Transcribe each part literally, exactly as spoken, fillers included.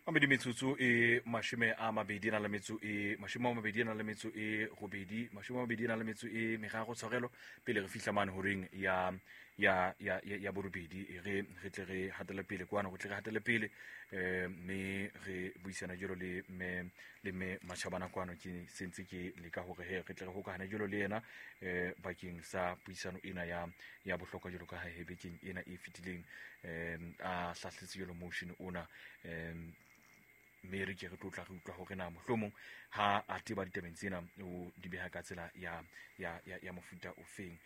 Mabedi metsotso e mashome a mabedi na le metso e mashome a mabedi na le metso e robedi mashome a mabedi na le metso e meraro tshwarelo pele re fihla mane horeng ya ya ya ya borobedi re re tle re hatele pele kwana go tle re hatele pele eh mme re buisana jalo le me le me Matjhabana kwano ke sentse ke leka hore he re tle re hokahane jalo le yena eh bakeng sa puisano ena ya ya bohlokwa jalo ka ha he bekeng ena e fetileng eh a hlahletse jalo motion ona eh mme re ke re tlo tla re utlwa hore na mohlomong ha a teba ditabeng tsena o di beha ka tsela ya ya ya ya mofuta o feng.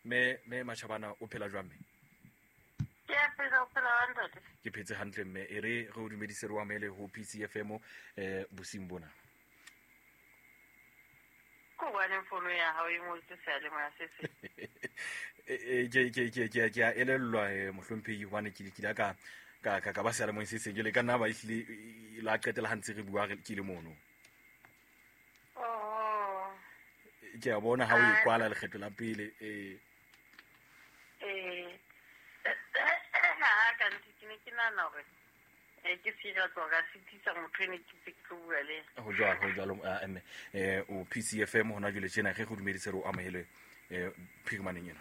Me me Matjhabana o phela jwang mme? Ke a phela, o phela hantle. Ke phetse hantle mme e re re o dumedise re o amohele ho P C F M eh bosing bona. Ko bane fono ya hao e ngotse seyalemoya se se. Eh ke ke ke ke ke a elellwa mohlomphehi hobane ke ke la ka ka ka ba seyalemoyeng se seng jwale ka nna ba ehlile la qetela ha ntse re bua re ke le mono. Oh. Ke a bona ha o e kwala lekgetlo la pele eh eh ha ka ntse ke ne ke nahana hore eh ke se tlo ka sitisa motho ene ke tse ke tlo bua le. Ho jwalo ho jwalo mme eh o P C F M hona jwale tjena re go dumedise re o amohele eh phirimaneng ena.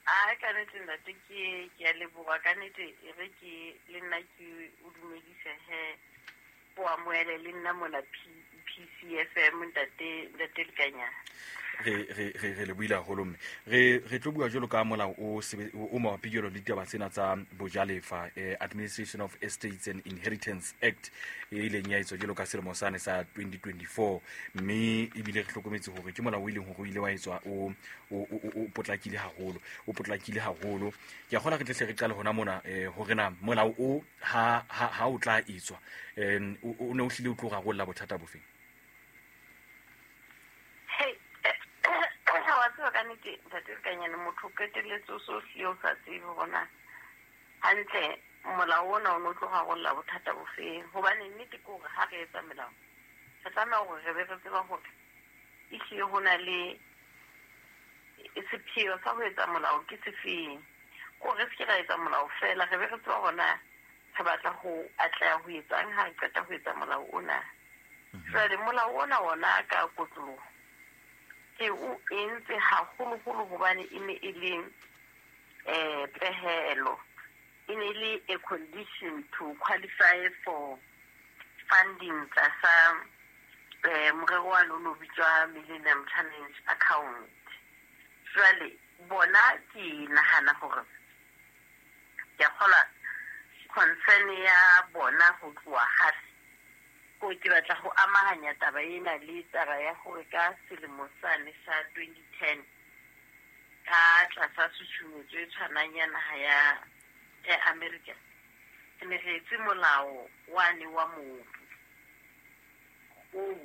A ka nnete ntate ke ke a leboha ka nnete e re ke le nna ke o dumedise he o amohele le nna mona P C F M ntate ntate Lekanyana. Re re re re le buile haholo mme re re tlo bua jwalo ka molao o o mabapi jwalo le ditaba tsena tsa bojalefa eh, Administration of Estates and Inheritance Act e ileng ya etswa jwalo ka selemo sane sa twenty twenty-four mme ebile re hlokometse hore ke molao o ileng hore o ile wa etswa o o o potlakile haholo o potlakile haholo. Ke a kgona re tle re qale hona mona eh hore na molao o ha ha ha o tla etswa eh o ne o hlile o tlo rarolla bothata bofeng? Ka nnete ntate Lekanyane motho o qetelletse o so hlile o sa tsebe hore na hantle molao ona o no tlo rarolla bothata bofeng, hobane nnete ke hore ha re etsa melao re tlameha hore re be re tseba hore ehlile ho na le sepheo sa ho etsa molao ke sefeng. Kore re se ke ra etsa molao feela, re be re tseba hore na re batla ho atleha ho etsang ha re qeta ho etsa molao ona. Jwale molao ona ona ka kotloloho ke o entse haholoholo hobane e ne e le eh pehelo, e ne e le a condition to qualify for funding tlasa eh morero wa lona o bitswa Millennium Challenge Account. Jwale bona ke nahana hore ke a kgolwa concern ya bona ho tloha hape ko ke batla ho amahanya taba ena le taba ya hore ka selemo sane sa twenty ten ka tlasa tshusumetso e tshwanang ya naha ya ya America re ne re etse molao wane wa mobu o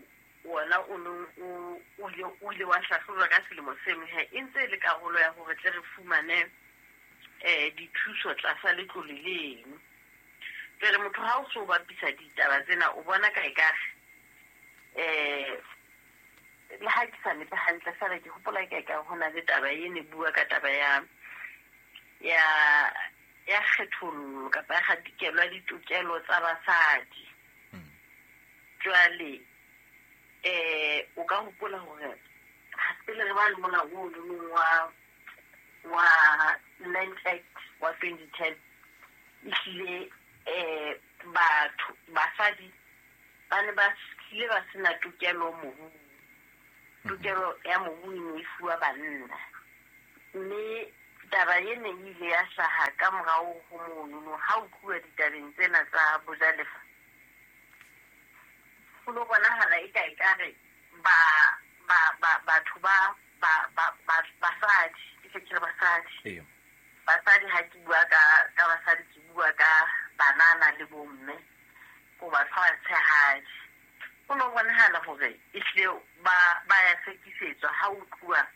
wona o neng o o ile o ile wa hlahlojwa ka selemo seno he e ntse e le karolo ya hore tle re fumane eh dithuso tlasa letlole leno. Jwale motho ha o so bapisa ditaba tsena o bona ka ekare eh le ha ke sa nepe hantle feela ke hopola ka ekare ho na le taba e ne bua ka taba ya ya ya kgethollo kapa ya kgatikelo ya ditokelo tsa basadi. Jwale eh o ka hopola hore pele re ba le molao o leng wa wa Land Act wa twenty ten ehlile eh batho basadi ba ne ba hlile ba sena tokelo mobung. Tokelo ya mobu e ne e fuwa banna, mme taba ene e ile ya hlaha ka morao ho monono ha o tluwa ditabeng tsena tsa bojalefa. Ho no bonahala e ka ekare ba ba ba batho ba ba ba basadi ke se ke re basadi basadi ha ke bua ka ka basadi ke bua ka banana le bomme ko batho ba tshehadi. Ho no bonahala hore ehlile ba ba ya sekisetswa ha o tluwa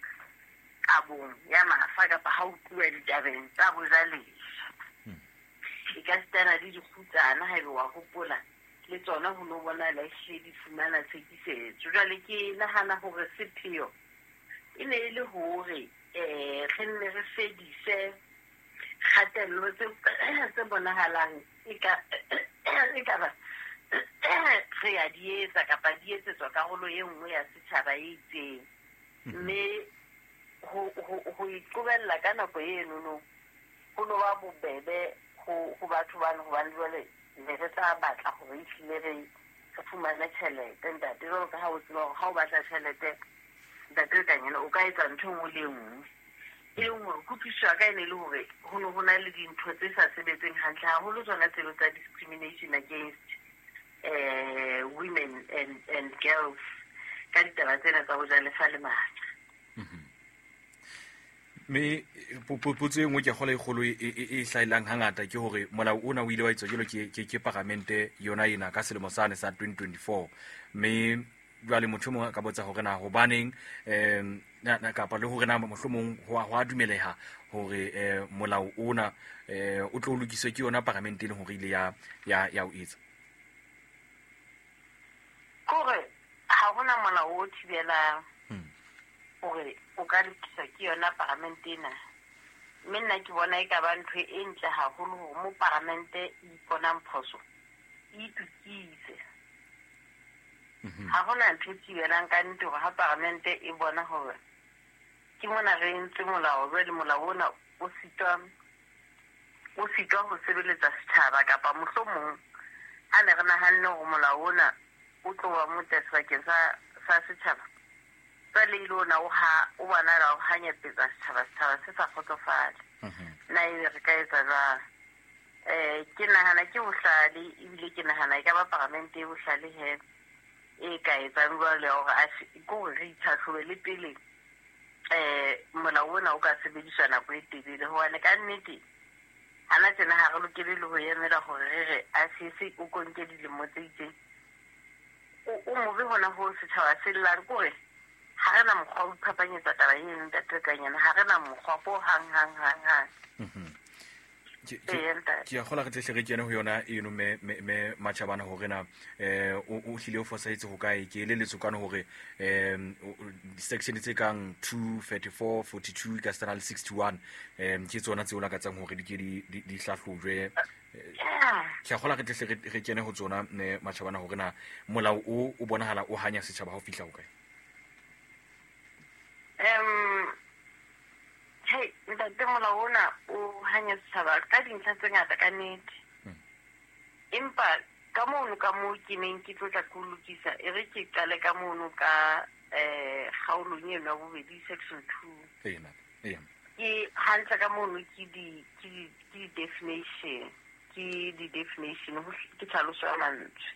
kabong ya mafa kapa ha o tluwa ditabeng tsa bojalefa. E ka sitana le dikgutsana haebe wa hopola le tsona ho no bonahala ehlile di fumana tshekisetso. Jwale ke nahana hore sepheo e ne e le hore eh re nne re fedise kgatello tse tse bonahalang e ka Ekaba re a di etsa kapa di etsetswa karolo e nngwe ya setjhaba e itseng. Mme ho ho ho iqobella ka nako eno ho no ba bobebe ho ho batho bana hobane jwale ne re tla batla hore ehlile re re fumane tjhelete ntate. Jwalo ka ha o tseba hore ha o batla tjhelete ntate Kanyana o ka etsa ntho e nngwe le e nngwe. E leng hore kutlwisiso ya ka e ne le hore ho ne ho na le dintho tse sa sebetseng hantle haholo tsona tseno tsa discrimination against eh women and and girls ka ditaba tsena tsa ho ja lefa le matla. Me potso e nngwe ke kgola e kgolo e e hlaelang hangata ke hore molao ona o ile wa etswa jwalo ke ke ke paramente yona ena ka selemo sane sa twenty twenty-four. Mme jwale motho mongwe a ka botsa hore na hobaneng em na kapa le hore na mohlomong ho a dumeleha hore eh molao ona eh o tlo lokiswe ke yona paramente e leng hore ile ya ya ya o etsa. Kore ha hona molao o thibelang hore o ka lokiswa ke yona paramente ena. Mme nna ke bona e ka ba ntho e ntle haholo hore mo paramente e iponang phoso e itokise. Ha hona ntho e thibelang ka nnete hore ha paramente e bona hore ke mona re entse molao, jwale molao ona o sitwa o sitwa ho sebeletsa setjhaba kapa mohlomong ha ne re nahanne hore molao ona o tlo ba motle sebakeng sa sa setjhaba, jwale ile ona o ha o bona o hanyapetsa setjhaba, setjhaba se sa kgotsofale. Nna ebe re ka etsa jwang? Eh ke nahana ke bohlale ebile ke nahana e ka ba paramente e bohlale he e ka etsang jwale hore a ke hore re itlhatlhobe le pele eh molao ona o ka sebediswa nako e telele. Hobane ka nnete hana tjena ha re lokele le ho emela hore re re a se o konke dilemo tse itseng. O mobe hona ho setjhaba se llang kore ha re na mokgwa wa ho iphapanyetsa taba eno ntate Kanyana, ha re na mokgwa ho hang hang hang hang. Ke a kgola re tle re kene ho yona eno me me Matjhabana hore na eh o hlile o fosahetse ho kae. Ke eleletswe kana hore em section tse kang two thirty-four forty-two ka stana le sixty-one em ke tsona tseo lakatsang hore di ke di di hlahlojwe. Ke a kgola re tle re kene ho tsona me Matjhabana hore na molao o o bonahala o hanya setjhaba ha o fihla ho kae. Em hey ntate, molao ona o hanya setjhaba ka dintlha tse ngata ka nnete. Empa ka mono ka moo ke neng ke tlotla ke lokisa, e re ke qale ka mono ka eh kgaolong eno ya bobedi section two. Ke hantle ka mono ke di ke di ke di definition, ke di definition ke tlhaloso ya mantswe.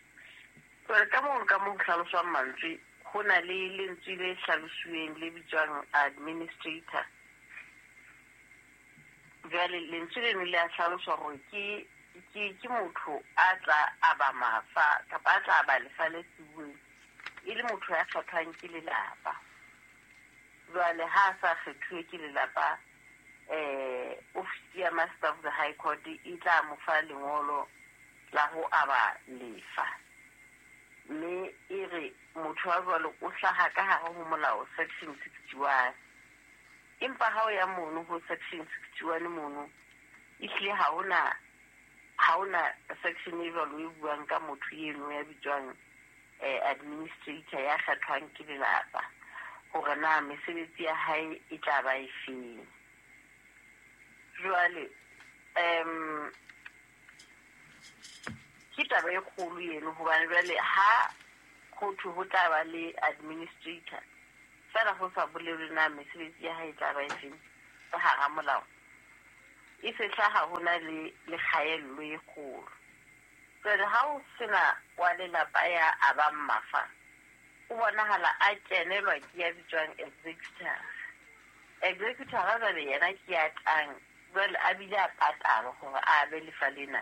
Jwale ka mono ka moo tlhaloso ya mantswe ho na le lentswe le hlalosweng le bitswang administrator. Jwale lentswe leno le a hlaloswa hore ke ke ke motho a tla aba mafa kapa a tla aba lefa le siuweng e le motho ya kgethwang ke lelapa. Jwale ha a sa kgethuwe ke lelapa eh ofisi ya Master of the High Court e tla mo fa lengolo la ho aba lefa. Mme e re motho wa jwalo o hlaha ka hare ho molao section sixty-one. Empa ha o ya mono ho section sixty-one mono ehlile ha hona ha hona section e jwalo e buang ka motho eno ya bitswang eh administrator ya kgethwang ke lelapa hore na mesebetsi ya hae e tla ba efeng. Jwale em ke taba e kgolo eno hobane jwale ha ho thwe ho tla ba le administrator fela ho sa bolelwe na mesebetsi ya hae e tla ba efeng ka hara molao, e se hlaha ho na le le kgaello e kgolo. Jwale ha o sena wa lelapa ya abang mafa, o bonahala a kenelwa ke ya bitswang executor. Executor jwale yena ke ya tlang jwale a bile a patalwa hore a abe lefa lena.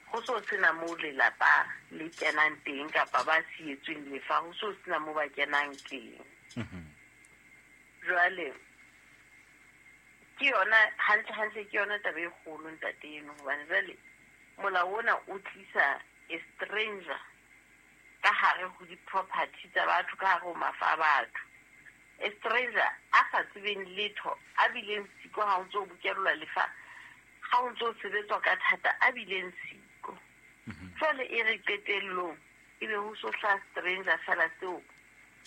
Ho so sena moo lelapa le kenang teng kapa ba sietsweng lefa, ho so sena moo ba kenang teng. Jwale ke yona hantle hantle ke yona taba e kgolo ntate eno hobane jwale molao ona o tlisa a stranger ka hare ho di-property tsa batho, ka hare ho mafa a batho. A stranger a sa tsebeng letho, a bileng siko ha o ntso bokellwa lefa, ha o ntso sebetswa ka thata, a bileng siko. Jwale e re qetellong ebe ho so hlaha stranger fela seo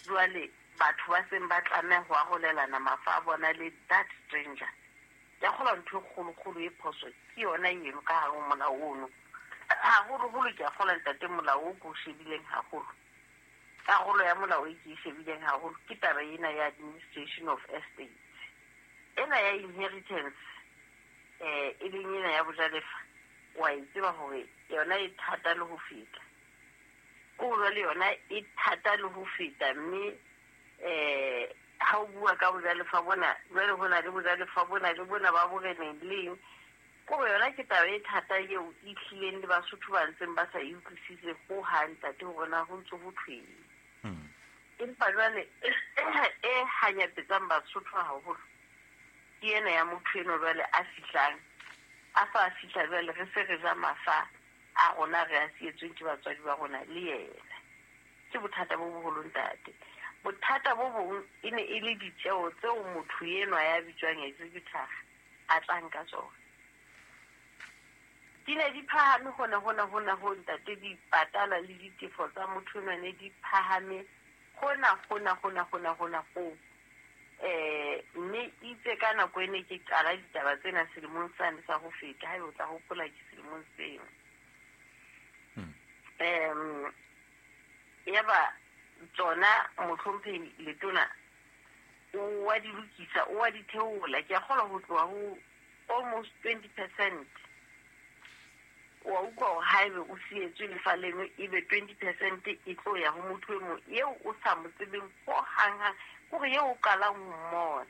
jwale batho ba seng ba tlameha ho arolelana mafa a bona le that stranger. Ke a kgolwa ntho e kgolokgolo e phoso ke yona eno ka hare ho molao ono. Haholoholo ke a kgolwa ntate molao o ke o shebileng haholo. Karolo ya molao e ke e shebileng haholo ke taba ena ya administration of estates. Ena ya inheritance eh e leng ena ya bojalefa wa e tseba hore yona e thata le ho feta. Ko jwale yona e thata le ho feta mme eh ha o bua ka bojalefa bona jwale ho na le bojalefa bona le bona ba boreneng leng. Ko yona ke taba e thata eo e tlileng le Basotho ba ntseng ba sa e utlwisise ho hang ntate hore na ho ntso ho thweng. Empa jwale e hanyapetsang Basotho haholo ke ena ya motho eno jwale a fihlang a fa a fihla jwale re se re ja mafa a rona re a sietsweng ke batswadi ba rona le yena. Ke bothata bo boholo ntate. Bothata bo bong e ne e le ditjeo tseo motho enwa ya bitswang executor a tlang ka tsona. Di ne di phahame hona hona hona ho ntate di patala le ditefo tsa motho enwa ne di phahame hona hona hona hona hona ho. Eh mme itse ka nako ene ke qala ditaba tsena selemong sane sa ho feta ha o tla hopola ke selemong seo. Em yaba tsona mohlomphehi letona o wa di lokisa o wa di theola ke a kgolwa ho tloha ho almost twenty percent. Wa utlwa hore haebe o sietswe lefa leno ebe twenty percent e tlo ya ho motho e mong eo o sa mo tsebeng ho hang-hang kore eo o qalang ho mmona.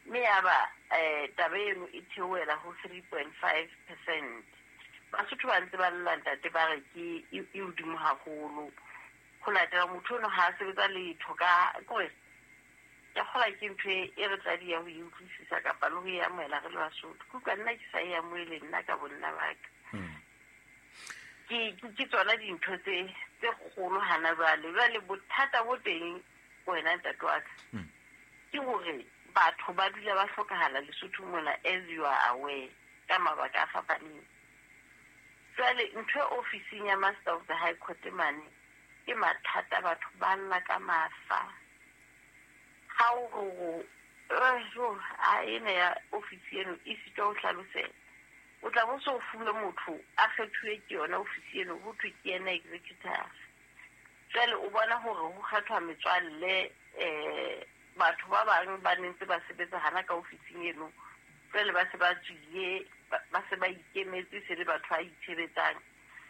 Mme yaba eh taba eno e theohela ho three point five percent. Basotho ba ntse ba lla ntate ba re ke e hodimo haholo. Ho latela motho ono ha a sebetsa letho ka kore ke kgolwa ke ntho e re tla di ya ho e utlwisisa kapa le ho e amohela re le Basotho. Ke utlwa nna ke sa e amohele nna ka bonna ba ka. Ke ke tsona dintho tse tse kgolo hana jwale. Jwale bothata bo teng wena ntate wa ka ke hore batho ba dula ba hlokahala Lesotho mona as you are aware ka mabaka a fapaneng. Jwale ntho e ofising ya Master of the High Court mane ke mathata batho ba lla ka mafa. Ha o re a ena ya ofisi eno e sitwa ho hlalosetsa. O tla bo so fuwe motho a kgethuwe ke yona ofisi eno ho thwe ke yena executor. Jwale o bona hore ho kgethwa metswalle eh batho ba bang ba ne ntse ba sebetsa hana ka ofising eno. Jwale ba se ba tswile ba se ba ikemetse se le batho ba itshebetsang.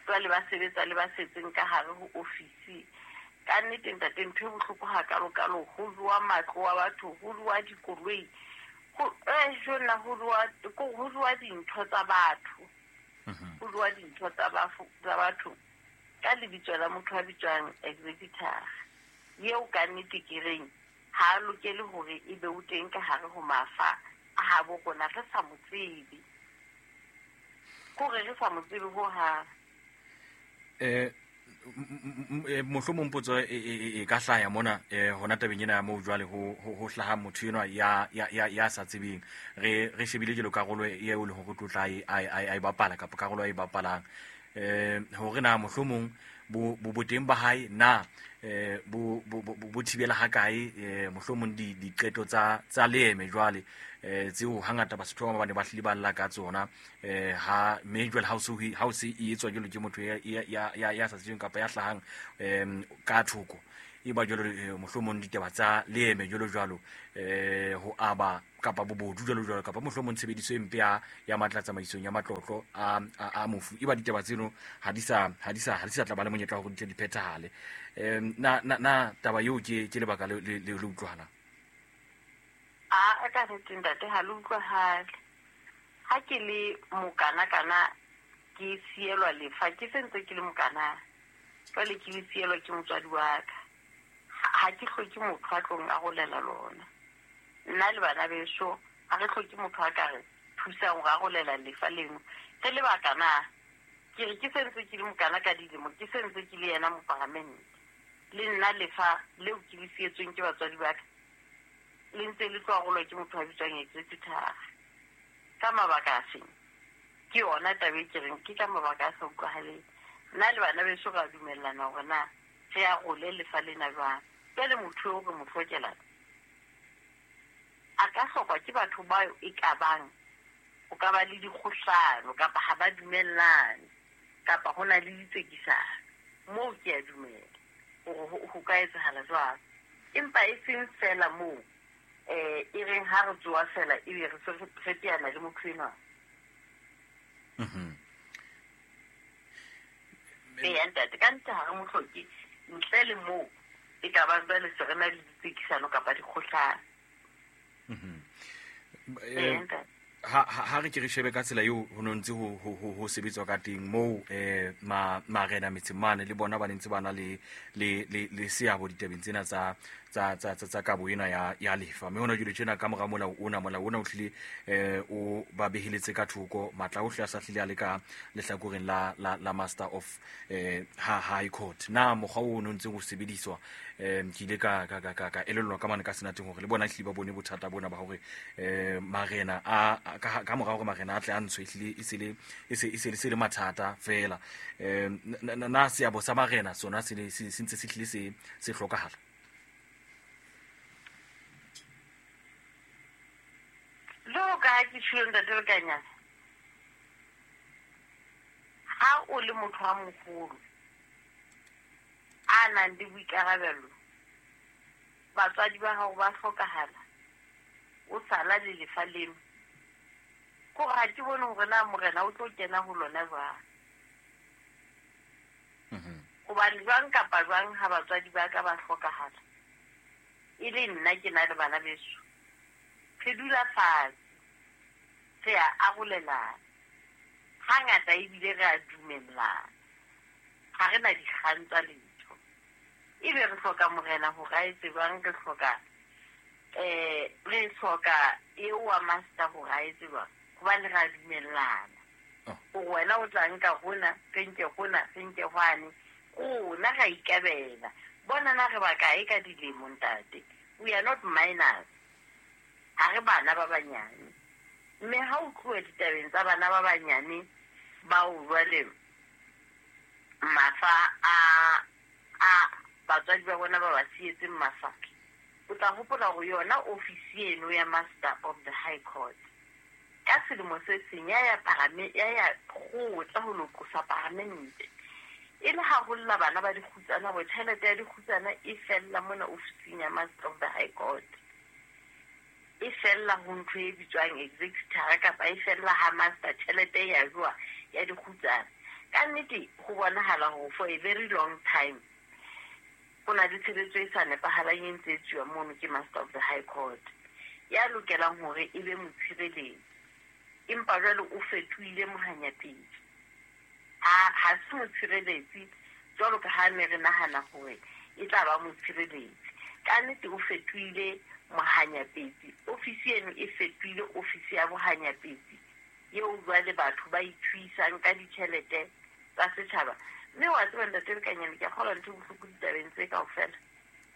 Jwale ba sebetsa le ba setseng ka hare ho ofisi. Ka nnete ntate ntho e bohloko hakalokalo ho jowa matlo a batho, ho jowa dikoloi, ho eh jona ho jowa ho jowa dintho tsa batho. Ho jowa dintho tsa tsa batho ka lebitso la motho a bitswang executor. Eo ka nnete ke reng ha a lokele hore ebe o teng ka hare ho mafa a habo rona re sa mo tsebe. Kore re sa mo tsebe ho hang. Eh mohlomong potso e ka hlaya mona hona tabeng ena ya moo jwale ho ho hlaha motho enwa ya ya ya sa tsebeng re re shebile jelo karolo eo le hore tlotla a e bapala kapa karolo a e bapalang eh hore na mohlomong bo boteng ba hae na eh bo bo thibela ha kae mohlomong di diqeto tsa tsa leeme jwale eh tseo hangata Basotho ba ne ba hlile ba lla ka tsona eh ha mme jwale ha o se ha o se e etswa jwalo ke motho ya ya ya sa tsebeng kapa ya hlahang em ka thoko e ba jwalo mohlomong ditaba tsa leeme jwalo jwalo eh ho aba kapa bobodu jwalo jwalo kapa mohlomong tshebediso e mpe ya ya matla tsamaisong ya matlotlo a a mofu e ba ditaba tseno ha di sa ha di sa ha di sa tla ba le monyetla wa hore di phethahale. Em na na na taba eo ke ke lebaka le le le utlwahala a ka nnete ntate ha le utlwahale. Ha ke le mokana kana ke sielwa lefa ke sentse ke le mokana jwale ke le sielwa ke motswadi wa ka. Ha ke hloke motho a tlong arolela lona. Nna le bana beso ha re hloke motho a ka re thusang ho arolela lefa leno. Re lebaka na ke re ke sentse ke le mokana ka dilemo ke sentse ke le yena moparamente. Le nna lefa leo ke le sietsweng ke batswadi ba ka le ntse le tlo arolwa ke motho a bitswang executor. Ka mabaka a feng? Ke yona taba e ke reng ke ka mabaka a sa utlwahaleng. Nna le bana beso ra dumellana hore na re arole lefa lena jwang. Jwale motho eo re mo hlokelang a ka hlokwa ke batho bao e ka bang o ka ba le dikgohlano kapa ha ba dumellane kapa ho na le ditsekisano. Moo ke a dumela hore ho ka etsahala jwalo, empa e seng fela moo eh e reng ha re tsoa fela ebe re se re teana le motho enwa. Mhm. Ee, ntate, ka nnete ha re mo hloke ntle le moo e ka bang jwale se re na le ditsekisano kapa dikgohlano. Mhm. Ee, ntate. Ha ha re ke re shebe ka tsela eo ho no ntse ho ho ho sebetswa ka teng moo eh ma marena metseng mane le bona ba ntse ba na le le le le seabo ditabeng tsena tsa tsa tsa tsa kabo ena ya ya lefa. Mme hona jwale tjena ka mora molao ona molao ona o hlile eh o ba beheletse ka thoko matla ohle a sa hlile a le ka lehlakoreng la la la Master of eh ha High Court. Na mokgwa o no ntse o sebediswa eh ke ile ka ka ka ka elellwa ka mane ka senateng hore le bona hlile ba bone bothata bona ba hore eh marena a ka ka mora hore marena a tle a ntshwe hlile e se le e se e se le mathata fela. Eh na seabo sa marena sona se se ntse se hlile se se hlokahala. Jwalo ka ha ke tjhilo ntate Lekanyana, ha o le motho a moholo a nang le boikarabelo, batswadi ba hao ba hlokahala, o sala le lefa leno, kore ha ke bone hore na morena o tlo kena ho lona jwang. Hobane jwang kapa jwang ha batswadi ba ka ba hlokahala, e le nna ke na le bana beso, re dula fatshe, re a arolelana. Hangata ebile re a dumellana, ha re na dikgang tsa letho. Ebe re hloka morena hore a etse jwang, re hloka eh re hloka eo wa master hore a etse jwang, hobane re a dumellana. Hore wena o tla nka hona, re nke hona, re nke hwane, rona ra ikabela. Bona na re ba kae ka dilemo ntate? We are not minors. Ha re bana ba banyane. Mme ha o tloha ditabeng tsa bana ba banyane bao jwale mafa a a batswadi ba bona ba ba sietseng mafa, o tla hopola hore yona ofisi eno ya Master of the High Court ka selemo se seng ya ya parame ya ya kgotla ho lo qosa paramente e le ha ho lla bana ba dikgutsana hore tjhelete ya dikgutsana e fella mona ofising ya Master of the High Court, e fella ho ntho e bitswang executor kapa e fella ha master tjhelete ya jwa ya dikgutsana. Ka nnete ho bonahala hore for a very long time ho na le tshebetso e sa nepahalang e ntse e etsuwa mono ke Master of the High Court ya lokelang hore e be motshireletsi, empa jwale o fetohile mohanyapedi. Ha ha se motshireletsi jwalo ka ha ne re nahana hore e tla ba motshireletsi. Ka nnete o fetohile mohanyapetsi. Ofisi eno e fetohile ofisi ya bohanyapetsi eo jwale batho ba ithuisang ka ditjhelete tsa setjhaba. Mme wa tseba ntate Lekanyane, ke a kgolwa ntho e bohloko ditabeng tse kaofela.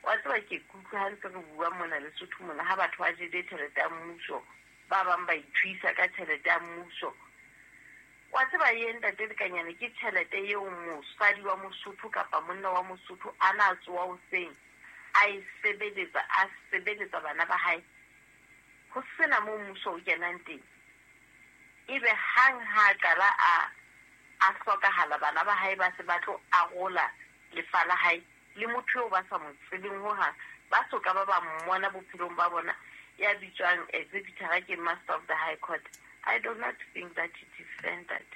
Wa tseba ke kutlwa ha ntse re bua mona Lesotho mona, ha batho ba jele tjhelete ya mmuso, ba bang ba ithuisa ka tjhelete ya mmuso. Wa tseba ye ntate Lekanyane ke tjhelete eo mosadi wa Mosotho kapa monna wa Mosotho a na tsoha hoseng a e sebeletsa, a sebeletsa bana ba hae, ho sena moo mmuso o kenang teng. Ebe hang ha qala a a hlokahala, bana ba hae ba se ba tlo arola lefa la hae le motho eo ba sa mo tsebeng hohang, ba soka ba ba mmona bophelong ba bona, ya bitswang executor ke Master of the High Court. I do not think that it is fair that.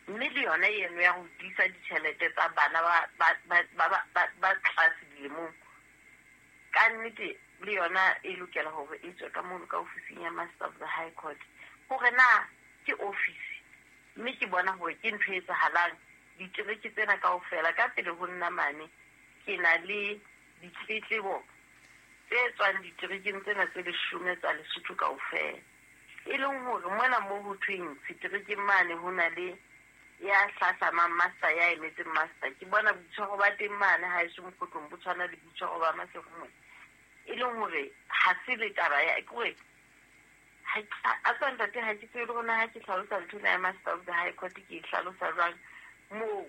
Mme le yona eno ya ho tiisa ditjhelete tsa bana ba ba ba ba ba tlase dilemong, ka nnete le yona e lokela hore e tswe ka mono ka ofising ya Master of the High Court. Hore na ke ofisi, mme ke bona hore ke ntho e etsahalang ditereke tsena kaofela. Ka pele ho nna mane ke na le ditletlebo tse tswang diterekeng tsena tse leshome tsa Lesotho kaofela, e leng hore mona moo ho thweng seterekeng mane ho na le ya hlahlamang master ya emetseng master. Ke bona boitshwaro ba teng mane ha eso mokgotlong bo tshwana le boitshwaro ba Maseru mona, e leng hore ha se le taba ya ke hore A tswa ntate ha ke tsebe le rona ha ke hlalosa ntho ena ya Master of the High Court ke e hlalosa jwang moo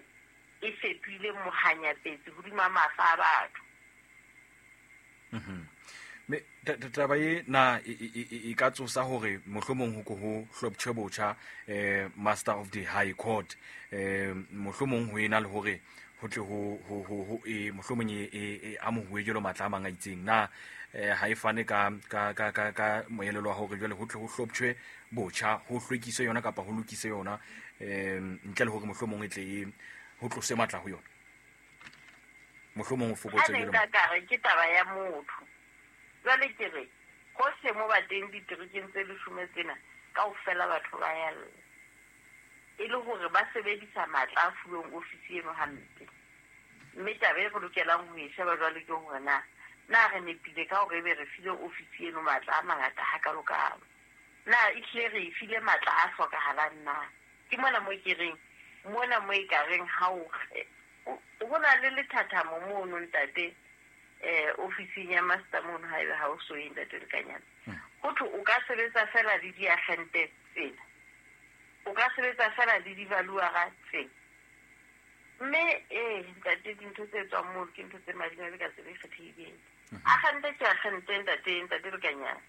e fetohile mohanyapetsi hodima mafa a batho. Mhm. Me taba e na e ka tsosa hore mohlomong ho ko ho hloptjhe botjha eh Master of the High Court eh mohlomong ho ena le hore ho tle ho ho ho e mohlomong e e amohuwe jwalo matla a mang a itseng na ha e fane ka ka ka ka ka moelelo wa hore jwale ho tle ho hloptjhwe botjha ho hlwekiswe yona kapa ho lokise yona eh ntle le hore mohlomong e tle e ho tlose matla ho yona mohlomong o fokotse jwalo ka ka re ke taba ya motho. Jwale ke re hohle mo ba teng diterekeng tse leshome tsena kaofela batho ba ya lla e le hore ba sebedisa matla a fuweng ofisi eno hampe. Mme taba e re lokelang ho e sheba jwale ke hore na na re nepile ka hore ebe re file ofisi eno matla a mangata hakalokalo, na ehlile re e file matla a hlokahalang na. Ke mona mo ke reng mona mo e ka reng ha o ho na le lethathamo mono ntate eh ofising ya master mono ha ebe ha o so ye ntate Lekanyana. Ho thwe o ka sebetsa fela le diagente tsena, o ka sebetsa fela le di-valuara tsena. Mme eh ntate dintho tse tswang moo ke ntho tse madimabe ka tsela e kgethehileng. Agente ke agente ntate ntate Lekanyana,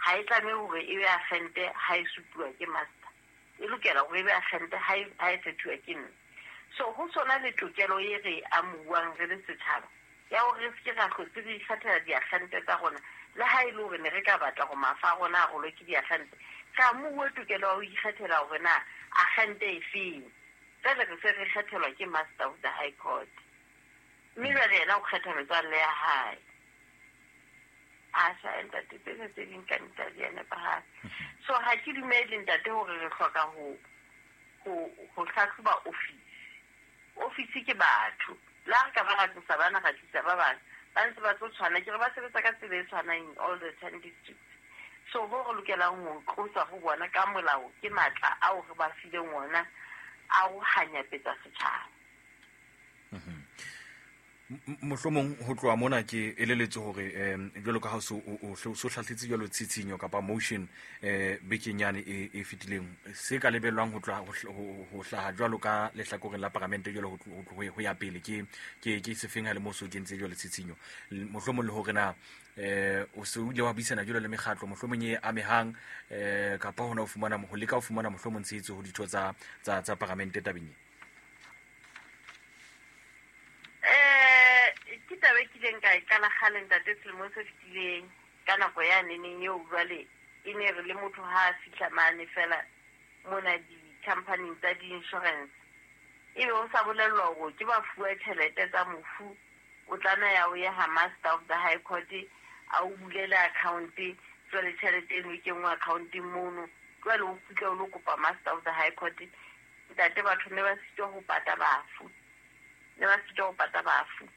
ha e tlamehe hore e be agente ha e supuwa ke master, e lokela hore e be agente ha e ha e kgethuwa ke nna. So ho sona le tokelo e re amuwang re le setjhaba ya hore re se ke ra hlotse re ikgethela diagente tsa rona le ha e le hore ne re ka batla hore mafa a rona a rolwe ke diagente, re amuwe tokelo ya ho ikgethela hore na agente e feng. Jwale re se re kgethelwa ke Master of the High Court, mme jwale yena o kgetha metswalle ya hae. Asha ntate tsena tse ding ka nnete ha di a nepahala. So ha ke dumele ntate hore re hloka ho ho ho hlahloba ofisi. Ofisi ke batho. Le ha re ka ba ra tlosa bana ra tlisa ba bang, ba ntse ba tlo tshwana, ke re ba sebetsa ka tsela e tshwanang in all the ten districts. So ho re lokelang ho tlosa ho bona ka molao ke matla ao re ba fileng ona a ho hanyapetsa setjhaba. Mohlomong ho tloha mona ke eleletse hore um jwalo ka ha so o so hlahletse jwalo tshitshinyo kapa motion eh bekeng yane e e fetileng se ka lebellwang ho tloha ho hlaha jwalo ka lehlakoreng la paramente jwalo ho ho ya pele ke ke ke sefeng ha le mo so kentse jwalo tshitshinyo mohlomong le hore na eh o se o ile wa buisana jwalo le mekgatlo mohlomong e amehang eh kapa hona ho fumana ho leka ho fumana mohlomong tshehetso ho ditho tsa tsa tsa paramente tabeng. Ke taba e kileng ka e qala kgale ntate selemong se fetileng ka nako ya neneng eo jwale e ne re le motho ha a fihla mane fela mona di-company tsa di-insurance ebe o sa bolellwa hore ke ba fuwa tjhelete tsa mofu o tlameha o ye ha Master of the High Court a o bulele account jwale tjhelete eno e kenngwe accounteng mono jwale o kgutle o lo kopa Master of the High Court. Ntate batho ne ba sitwa ho pata bafu, ne ba sitwa ho pata bafu.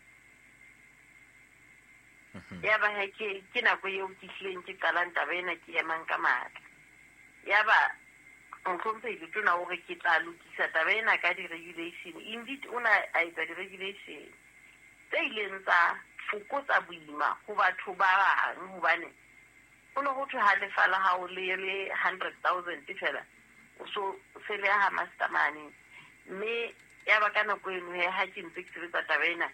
Ya ba he ke ke nako eo ke hlileng ke qalang taba ena ke emang ka matla. Ya ba mohlomphehi letona o re ke tla lokisa taba ena ka di-regulation. Indeed o na a etsa di-regulation tse ileng tsa fokotsa boima ho batho ba bang hobane ho ne ho thwe ha lefa la hao le le hundred thousand fela o so se le ha master mane. Mme ya ba ka nako eno he ha ke ntse ke sebetsa taba ena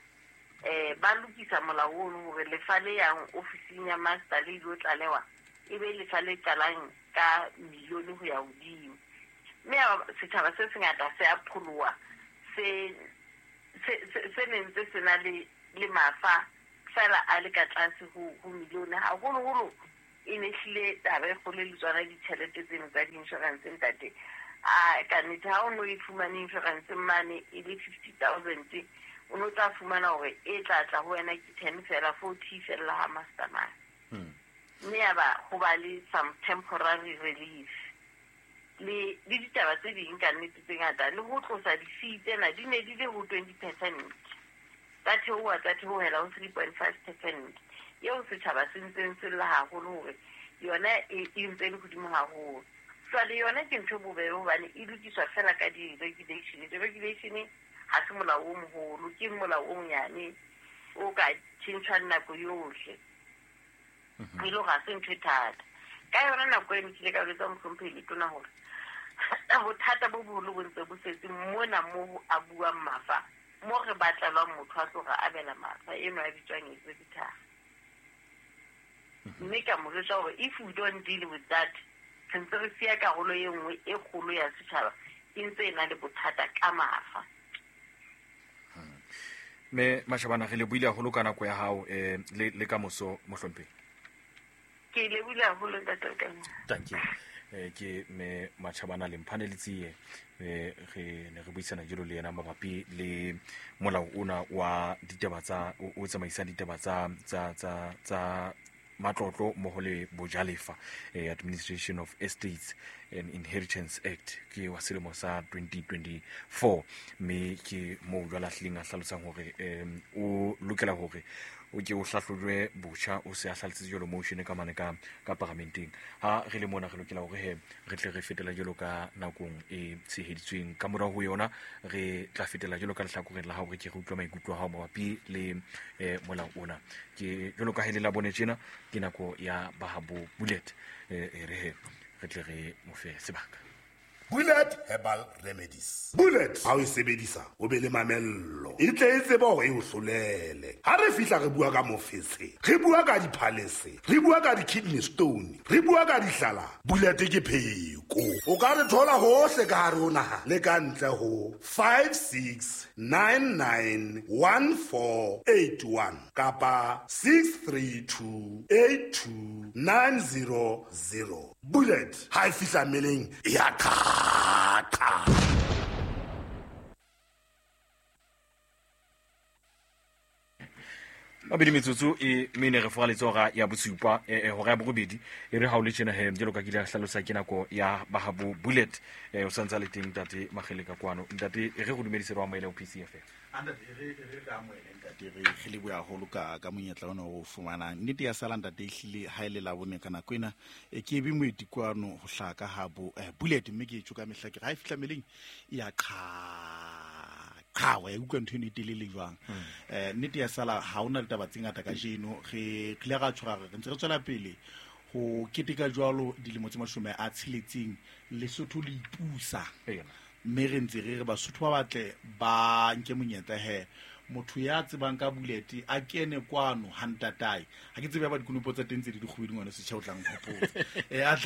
eh ba lokisa molao ono hore lefa le yang ofising ya master le ilo tlalewa e be lefa le qalang ka milione ho ya hodimo. Mme setjhaba se sengata se a pholoha se se se ne ntse se na le le mafa fela a le ka tlase ho ho milione haholoholo e ne hlile taba e kgolo le tsona ditjhelete tseno tsa di-insurance ntate. A ka nnete ha o no e fumane insurance mane e le fifty thousand o no tla fumana hore e tla tla ho wena ke ten fela forty fela ha master mane. Mme ya ba ho ba le some temporary relief le le ditaba tse ding ka nnete tse ngata le ho tlosa di-fee tsena di ne di le ho twenty percent tsa theoha tsa theohela ho three point five percent eo setjhaba se ntseng se lla haholo hore yona e ntse e le hodimo haholo. Jwale yona ke ntho e bobebe hobane e lokiswa fela ka di-regulation. Di-regulation ha se molao o moholo, ke molao o monyane o ka tjhentjhwang nako yohle. E le hore ha se ntho e thata. Ka yona nako eno ke ile ka jwetsa mohlomphehi Letona hore bothata bo boholo bo ntse bo setse mona mo a buang mafa, mo re batlelwang motho a tlo re abela mafa eno a bitswang executor. Mme ka mo jwetsa hore if we don't deal with that, re ntse re siya karolo e nngwe e kgolo ya setjhaba e ntse e na le bothata ka mafa. Me Mashabana, re lebohile haholo ka nako ya hao eh le le ka moso mohlomphehi. Ke lebohile haholo ntate Lekanya. Thank you. Eh ke me Mashabana Lemphane Letsie, eh re ne re buisana jalo le yena mabapi le molao ona wa ditaba tsa o tsamaisang ditaba tsa tsa tsa tsa matlotlo mmoho le bojalefa, eh, Administration of Estates and Inheritance Act ke wa selemo sa twenty twenty-four. Mme ke moo jwale a hlileng a hlalosang hore um o lokela hore o ke o hlahlojwe botjha, o se a hlalositse jwalo motion ka mane ka ka paramenteng. Ha re le mona re lokela hore he re tle re fetela jwalo ka nakong e tsheheditsweng. Ka morao ho yona re tla fetela jwalo ka lehlakoreng la hao, re ke re utlwa maikutlo a hao mabapi le eh, molao ona. Ke jwalo ka ha e le la bone tjena, ke nako ya Bahabo Bullet, eh, re he re tle re mo fe sebaka. Bullet Herbal Remedies. Bullet ha o e sebedisa o be le mamello, e tle e tsebe hore e o hlolele. Ha re fihla re bua ka mofetshe, re bua ka diphalese, re bua ka di-kidney stone, re bua ka dihlala. Bullet ke pheko. O ka re thola hohle ka hare ho naha le ka ntle ho five six nine nine one four eight one kapa six three two eight two nine zero zero. Bullet ha e fihla mmeleng e ya qha. Mabedi metsotso e mene re fola letsoga ya bosupa e hora ya borobedi e re ha o le tjena he jalo ka kile hlalosa ke nako ya Bahabo Bullet. E o santsa le teng ntate Makhele ka kwano. Ntate e re go dumedise re amohele ho P C F M. Ntate re re re amohele ntate, re re leboha haholo ka ka monyetla ona o fumanang. Nnete ya sala ntate ehlile ha ile la bone ka nako ena e ke be moeti kwano ho hlaka ha bo Bullet, mme ke etjo ka mehla ke ha e fihla meleng ya qha qha wa utlwa ntho eno e telele jwang. Eh nnete ya sala ha ona ditaba tse ngata kajeno, re tlile ra tshwara re ntse re tswela pele ho keteka jwalo dilemo tse mashome a tsheletseng Lesotho le ipusa. Mme re ntse re re Basotho ba batle ba nke monyetla he motho ya tsebang ka Bullet a kene kwano ha ntatae. Ha ke tsebe ba dikonopo tsa teng tse di dikgwedi ngwana setjha o tlang hopotsa. Eh a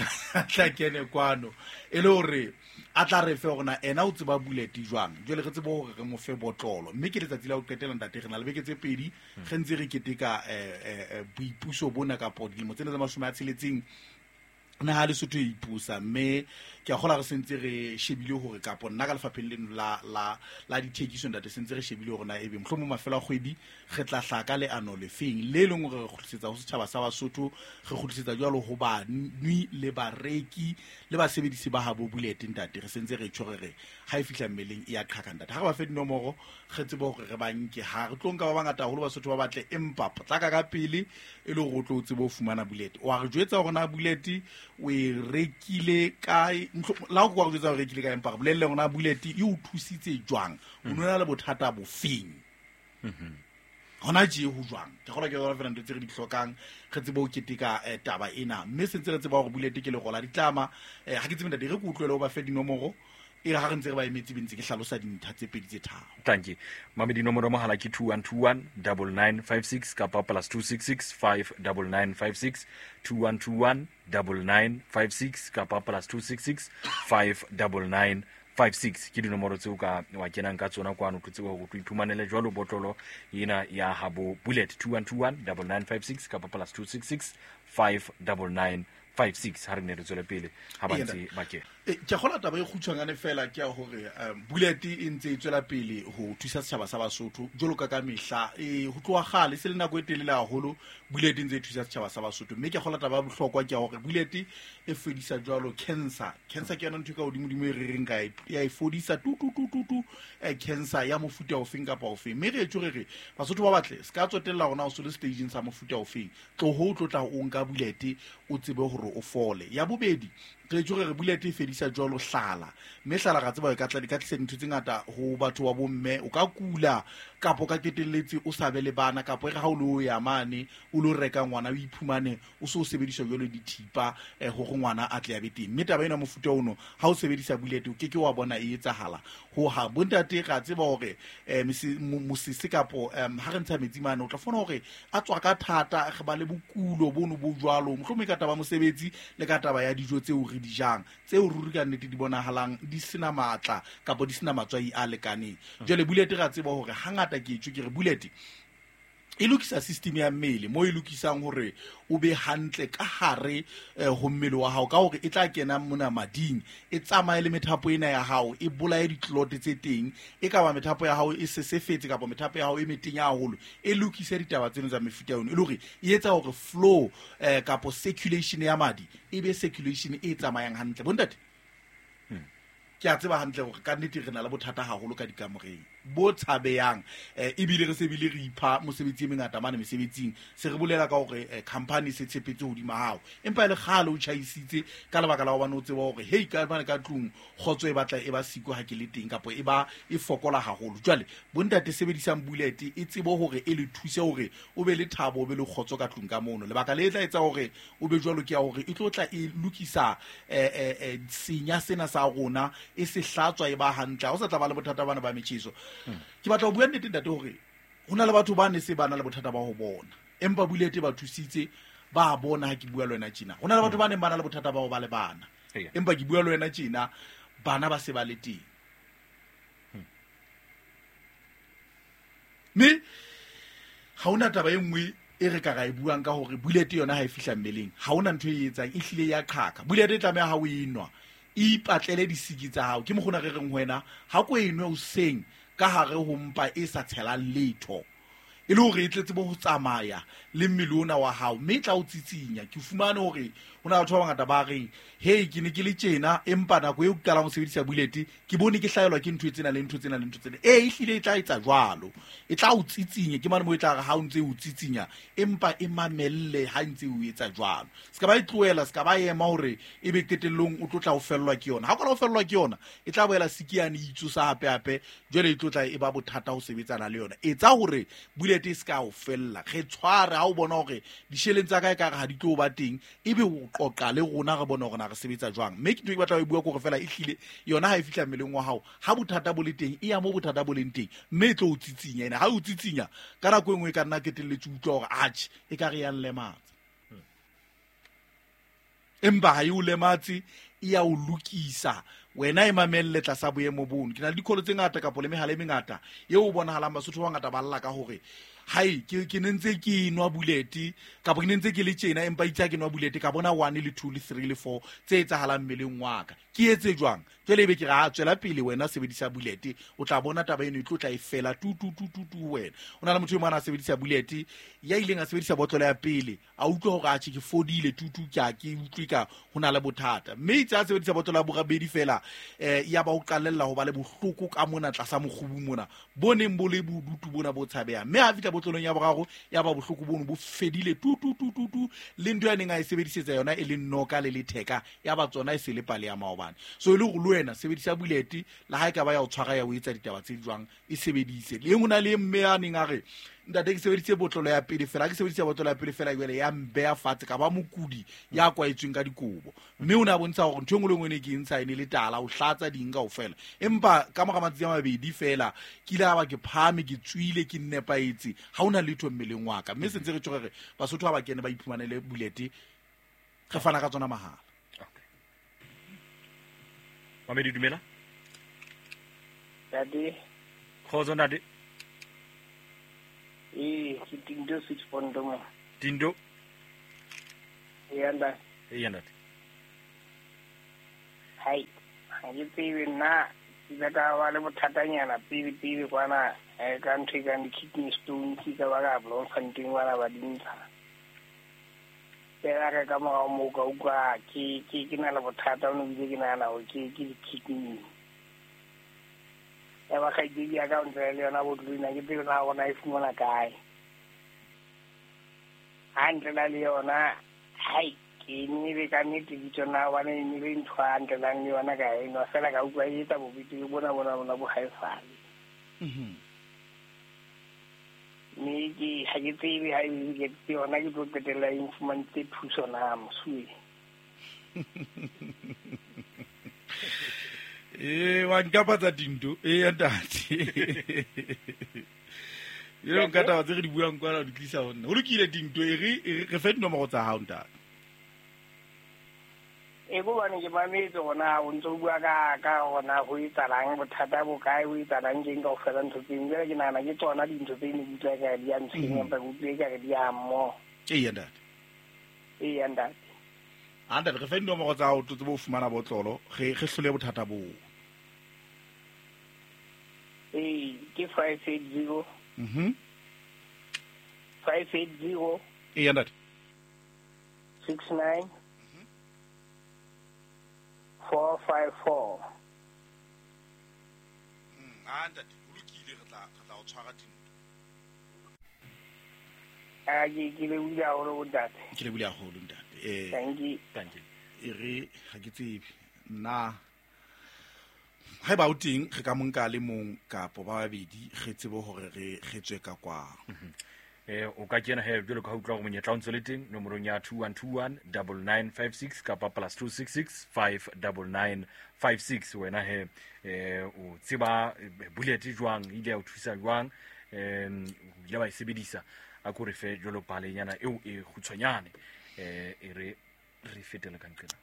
tla kene kwano e le hore a tla re fe hore na ena o tseba Bullet jwang. Jwale re tsebe hore re mo fe botlolo. Mme ke letsatsi la ho qetela ntate, re na le beke tse pedi re ntse re keteka eh boipuso bona kapo dilemo tsena tsa mashome a tsheletseng naha Lesotho e ipusa. Mme ke a kgola re sentse re shebile hore kapo nna ka lefapheng leno la la la dithekiso ntate sentse re shebile hore na ebe mohlomong mafelo a kgwedi re tla hlaka leano lefeng le leng hore re kgutlisetsa ho setjhaba sa Basotho, re kgutlisetsa jwalo ho banwi le bareki le basebedisi ba habo Bullet ntate. Re sentse re tjho re ha e fihla mmeleng e ya qhaka ntate. Ha re ba fe dinomoro re tsebe hore re ba nke, ha re tlo nka ba bangata haholo Basotho ba batle, empa potlaka ka pele e le hore o tlo tsebe ho fumana Bullet. Wa re jwetsa hore na Bullet o e rekile kae, la o kwa jwetsa o rekile kae, empa re bolelle hore na Bullet e o thusitse jwang, o nona le bothata bofeng hona tje ho jwang. Ke kgolwa ke yona fela ntho tse re di hlokang re tsebe ho keteka taba ena. Mme sentse re tseba hore Bullet ke legola ditlama. Ha ke tsebe ntate, re ke utlwele ho ba fe dinomoro e re ha re ntse re ba emetse be ntse ke hlalosa dintlha tse pedi tse tharo. Thank you. Mame dinomoro mohala ke two one two one nine nine five six kapa plus two six six five nine nine five six, two one two one nine nine five six kapa plus two six six five nine nine five six. Ke dinomoro tseo ka wa kenang ka tsona kwano tlo tsebe hore o iphumanele jwalo botlolo ena ya habo Bullet two one two one nine nine five six kapa plus two six six five nine nine five six. Ha re ne re tswele pele ha ba ntse ba kena. Ke kgola taba e kgutshwanyane fela ke ya hore Bullet e ntse e tswela pele ho thusa setjhaba sa Basotho jwalo ka ka mehla. E ho tloha kgale se le nako e telele haholo Bullet e ntse e thusa setjhaba sa Basotho. Mme ke kgola taba ya bohlokwa ke ya hore Bullet e fedisa jwalo cancer. Cancer ke yona ntho e ka hodimodimo e re reng ka ya e fodisa tu tu tu tu tu cancer ya mofuta ofeng kapa ofeng. Mme re etso re re Basotho ba batle se ka tsotella hore na o so le stageng sa mofuta ofeng, tloho o tlo tla o nka Bullet o tsebe hore o fole. Ya bobedi Re tjho re bullet e fedisa jwalo hlala mme hlala ga tseba e ka tla di ka tlisa dintho tse ngata ho batho ba bomme o ka kula kapo ka ketelletse o sa be le bana kapo e re ha o lo ya mane o lo reka ngwana o iphumane o so sebedisa jwalo dithipa hore ngwana a tle a be teng mme taba ena mofuta ono ha o sebedisa bullet o ke ke wa bona e etsahala ho ha bontate ga tseba hore mosese kapo ha re ntsha metsi mane o tla fona hore a tswa ka thata re ba le bokulo bono bo jwalo mohlomong ka taba mosebetsi le ka taba ya dijo tseo re di jang tseo ruri ka nnete di bonahalang di sena matla kapo di sena matswai a lekaneng. Jwale bullet ga tseba hore hangata ke tjho ke re bullet e lokisa system ya mmele mo e lokisang hore o be hantle ka hare ho mmele wa hao ka hore e tla kena mona mading e tsamaye le methapo ena ya hao e bolaye ditlot tse teng e ka ba methapo ya hao e sesefetse kapa methapo ya hao e metenya haholo e lokise ditaba tseno tsa mefuta yona e le hore e etsa hore flow eh, kapo circulation ya madi e be circulation e tsamayang hantle. Bontate ke a tseba hantle hore ka nnete re na le bothata haholo ka dikamoreng bo tshabeyang eh ebile re sebile re ipha mosebetsi e mengata mane mesebetsing se re bolela ka hore company se tshepetse hodima hao empa le kgale o tjhaisitse ka lebaka la hobane o tseba hore hey ka mane ka tlung kgotso e batla e ba siko ha ke le teng kapo e ba e fokola haholo. Jwale bontate sebedisang bullet e tsebo hore e le thuse hore o be le thabo o be le kgotso ka tlung ka mono. Lebaka le tla etsa hore o be jwalo ke ya hore e tlo tla e lokisa eh eh senya sena sa rona e se hlatswa e ba hantle ha o sa tla ba le bothata bana ba metjheso. Ke batla ho bua nnete ntate hore hona le batho ba ne se bana le bothata ba ho bona empa bullet ba thusitse ba bona ha ke bua le wena tjena. Hona le batho ba neng ba na le bothata ba ho ba le bana empa ke bua le wena tjena bana ba se ba le teng. Mme ha hona taba e nngwe e re ka ra e buang ka hore bullet yona ha e fihla mmeleng ha hona ntho e etsang e hlile ya qhaka. Bullet e tlameha ha o enwa ipatlele disiki tsa hao ke mokgona re reng ho wena ha ko enwe o seng ka hare ho mpa e sa tshelang letho e le hore e tletse bo ho tsamaya le mmele ona wa hao mme e tla o tsitsinya. Ke fumane hore hona batho ba bangata ba reng hey ke ne ke le tjena empa nako eo ke qalang ho sebedisa bullet ke bone ke hlaelwa ke ntho tsena le ntho tsena le ntho tsena e ehlile e tla etsa jwalo e tla o tsitsinya ke mane mo e tla re ha o ntse o tsitsinya empa e mamelle ha ntse o etsa jwalo se ka ba e tlohela se ka ba ema hore e be qetellong o tlo tla o fellwa ke yona ha o ka o fellwa ke yona e tla boela sikiane itsosa hape hape jwale e tlo tla e ba bothata ho sebetsana le yona. Etsa hore bullet e se ka o fella re tshware ha o bona hore disheleng tsa ka e ka re ha di tlo ba teng ebe o qoqa le rona re bona hore na re sebetsa jwang. Mme ke ntho e ke batla ho e bua kore fela e hlile yona ha e fihla mmeleng wa hao ha bothata bo le teng e ya mo bothata bo leng teng mme e tlo o tsitsinya ena ha o tsitsinya ka nako e nngwe e ka nna ketelletse utlwa hore atjhe e ka re ya nlematsa empa ha e o lematse e ya o lokisa wena e mamelle tlasa boemo bono. Ke na le dikholo tse ngata kapo le mehala e mengata eo o bonahalang Basotho ba bangata ba lla ka hore hai ke ke ne ntse ke nwa bullet kapo ke ne ntse ke le tjena empa itse ke nwa bullet ka bona one le two le three le four tse etsahalang mmeleng wa ka ke etse jwang jwale ebe ke re ha tswela pele wena sebedisa bullet o tla bona taba eno e tlo tla e fela tu tu tu tu tu wena. O na le motho e mong a sebedisa bullet ya ileng a sebedisa botlolo ya pele a utlwa hore atjhe ke fodile tu tu ke a ke utlwe ka hona le bothata mme itse a sebedisa botlolo ya borabedi fela eh ya ba o qalella ho ba le bohloko ka mona tlasa mokgubu mona bo neng bo le bodutu bona bo tshabeha mme ha fihla botlolong ya boraro ya ba bohloko bono bo fedile tu tu tu tu tu le ntho ya neng a e sebedisetsa yona e le noka le letheka ya ba tsona e se le pale ya maobane. So e le hore le wena sebedisa bullet le ha e ka ba ya o tshwara ya o etsa ditaba tse jwang e sebedise le hona le mme a neng a re ntate ke sebedise botlolo ya pele fela ke sebedisa botlolo ya pele fela jwale ya mbeya fatshe ka ba mokudi ya kwaetsweng ka dikobo mme o ne a bontsha hore ntho e nngwe le nngwe ne ke ntsha e ne le tala o hlatsa ding kaofela empa ka mora matsatsi a mabedi fela ke ile a ba ke phahame ke tswile ke nnepaetse ha hona letho mmeleng wa ka mme se ntse re tjho re Basotho ha ba kene ba iphumanele bullet re fana ka tsona mahala. Okay. Mamedi dumela Ntate Kgotso ntate. Eh, ke Tindo six point mo. Tindo. Eh, ntate. Eh, ntate. Hai, ha ke tsebe nna ke ile ka ba le bothatanyana pele pele kwana eh ka ntho e kang di-kidney stones ka ba ka Bloemfontein kwana ba di ntsha. Fela ka ka morao moo ka utlwa ke ke ke na le bothata ono ebile ke nahana hore ke ke di-kidney. Ya ba kgaitsedi ya ka o ntse le yona botlolo ena ke tsebe na bona e fumana kae. Ha ntlela le yona hai E ne le ka nnete bitso na hobane e ne le ntho a ntlelang le yona ka enwa fela ka utlwa e etsa bobete bona bona bona bo haesale. Mhm. Mme ke ha ke tsebe ha e ke ke yona ke tlo qetella e nfumantse thuso na mosuwe. Eh wa nkapatsa dinto e ya ntate. Eo nka taba tse re di buang kwana di tlisa ho nna. Ho lokile dinto e re re fe dinomoro tsa hao ntate. E go bane ke mametse gona o ntse o bua ka ka gona go etsalang bothata bo kae o etsalang keng kaofela ntho tseng. Jwale ke nahana ke tsona dintho tse ne ke utlwa ka di a ntshwenya, empa ke utlwe ekare di a mmoho. Eya ntate. Eya ntate. A ntate re fe dinomoro tsa hao tsebe ho fumana botlolo re re hlole bothata boo. Ee, ke five eight zero. Mhm. five eight zero. Eya ntate. six nine. four five four. Mm, a ntate o lokile re tla re tla o tshwara dinto. A ke ke le bula haholo ntate. Ke le bula haholo ntate. Eh thank you. Thank you. E re ha ke tsebe nna haeba o teng re ka monka le mong kapo ba babedi re tsebe hore re re tswe ka kwa. Eh o ka kena he jwalo ka utlwa hore monyetla o ntse le teng nomorong ya two one two one nine nine five six kapa plus two six six five nine nine five six. Wena he eh o tseba bullet jwang ile ya o thusa jwang em o ile wa e sebedisa a ko re fe jwalo palenyana eo e kgutshwanyane eh e re re fetele ka nqena.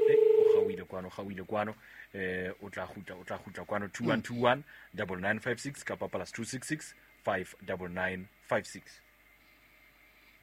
Eh o gauile kwano gauile kwano eh o tla kgutla o tla kgutla kwano two one two one nine nine five six kapa plus two six six five nine nine five six.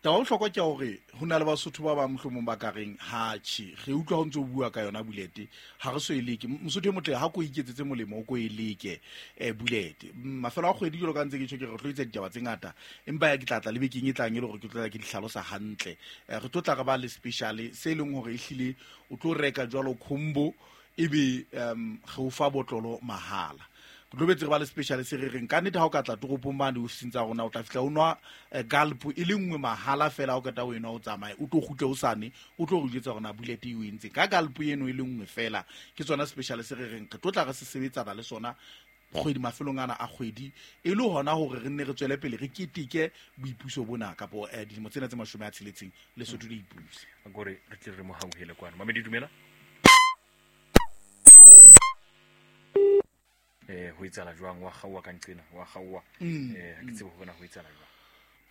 Taba bohlokwa ke hore ho na le Basotho ba bang mohlomong ba ka reng ha tjhe re utlwa ho ntse o bua ka yona bulete ha re so e leke. Mosotho e motle ha ko iketsetse molemo o ko e leke eh bulete. Mafelo a kgwedi jwalo ka ntse ke tjho ke re tlo etsa ditaba tse ngata empa ya ke tla tla le bekeng e tlang e le hore ke tlo tla ke di hlalosa hantle. Re tlo tla re ba le special se leng hore ehlile o tlo reka jwalo combo ebe um re o fa botlolo mahala. Re tlo ba le special se re reng ka nnete ha o ka tla toropong mane ofising tsa rona o tla fihla o nwa galp e le nngwe mahala fela o keta o enwa o tsamaye o tlo kgutle o sane o tlo re jwetsa hore na bullet e o entse ka galp eno e le nngwe fela. Ke tsona special se re reng re tlo tla re se sebetsana le sona kgwedi mafelong ana a kgwedi e le hona hore re nne re tswele pele re keteke boipuso bona kapo dilemo tsena tse mashome a tsheletseng Lesotho le ipuse. Gore re tle re mo hauhele kwana. Mamedi dumela. Eh ho etsala jwang wa gaowa ka nqena wa gaowa eh ha ke tsebe hore na ho etsala jwang.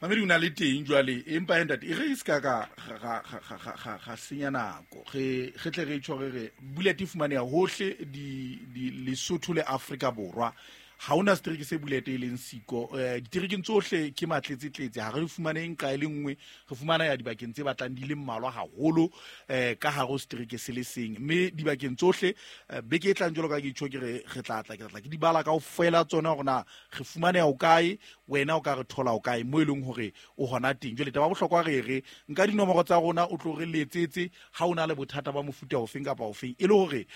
Mamedi o na le teng jwale empa e ntate e re se ka ka ga ga ga ga senya nako re re tle re tjho re re bullet e fumaneha hohle di di Lesotho le Afrika Borwa. Ha hona setereke se bullet e leng siko diterekeng tsohle ke matletse tletse ha re fumaneng ka e le nngwe re fumana ya dibakeng tse batlang di le mmalwa haholo eh ka hare ho setereke se le seng mme dibakeng tsohle beke e tlang jwalo ka ke tjho ke re re tla tla ke tla ke di bala kaofela tsona hore na re fumaneha o kae wena o ka re thola o kae mo e leng hore o hona teng. Jwale taba bohlokwa re re nka dinomoro tsa rona o tlo re letsetse ha o na le bothata ba mofuta ofeng kapa ofeng e le hore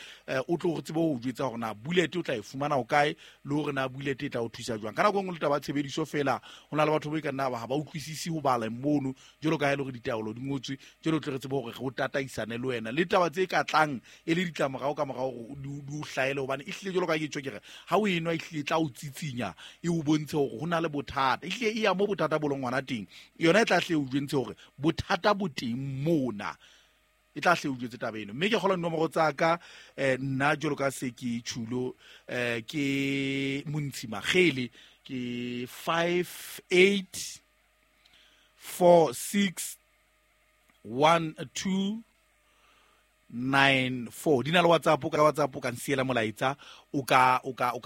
o tlo re tsebe ho jwetsa hore na bullet o tla e fumana o kae le hore na bullet e tla o thusa jwang. Ka nako e nngwe le taba tshebediso fela ho na le batho ba e ka nna ba ha ba utlwisisi ho bala mono jwalo ka ha e le hore ditaolo di ngotswe jwalo tle re tsebe hore re o tataisane le wena le taba tse ka tlang e le ditlamorao ka morao hore di o hlahele hobane ehlile jwalo ka ke tjho ke re ha o enwa ehlile tla o tsitsinya e o bontshe hore ho na le bothata ehlile e ya mo bothata bo leng hona teng yona e tla hle o jwentshe hore bothata bo teng mona e tla hle o jwetse taba eno. Mme ke kgola dinomoro tsa ka eh nna jwalo ka se ke tjhulo eh ke Montshi Magele ke five eight four six one two nine four. Di na le WhatsApp ka WhatsApp ka nsiela molaetsa o ka o ka